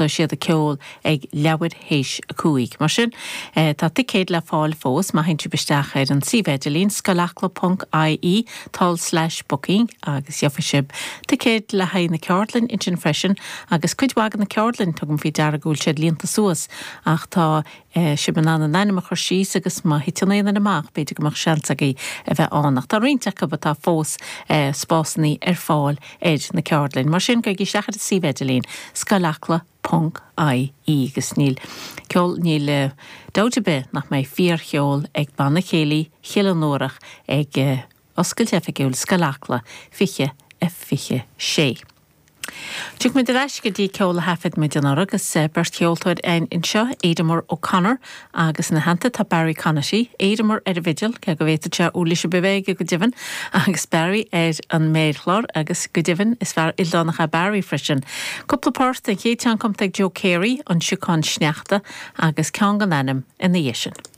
Tosóidh siad ag ceol ag leathuair théis 5. Mar sin, tá ticéid le fáil fós má théann sibh isteach ar an suíomh idirlín, scoilacla ponc ie tulslais booking agus gheobhaidh sibh ticéid le haghaidh na ceardlainne ansin freisin agus cuid mhaith de na ceardlainn, tugaim faoi deara go bhfuil siad líonta suas ach tá sibh in ann an ainm a chur síos agus má thiteann aon duine amach b'fhéidir go mbeadh seans agaibh a bheith ann. Ach tá roinnt acu atá fós spásannaí ar fáil ar na ceardlainn. Mar sin, gabhaigí isteach ar an suíomh idirlín, scoilacla ponc ie agus níl ceol, níl dabht ar bith nach mbeidh fíorcheol ag Banna Céilí Chill an Lúrach ag oscailt oifigiúil Scoil Acla 20 a 26. Tiocfaidh muid ar ais go dtí ceol a thaifead muid anuraidh agus beirt cheoltóir againn anseo, Aidanmar O'Connor agus ina theannta tá Barry Conaty, Aidanmar ar an bhfidil, cé go bhféadfadh sé uirlis ar bith a bheith aige go deimhin, agus Barry ar an méarchlár agus go deimhin is fear ildánach é Barry freisin. Cúpla port, an chéad cheann cumtha ag Joe Carey, An Siocán Sneachta agus ceann gan ainm ina dhiaidh sin.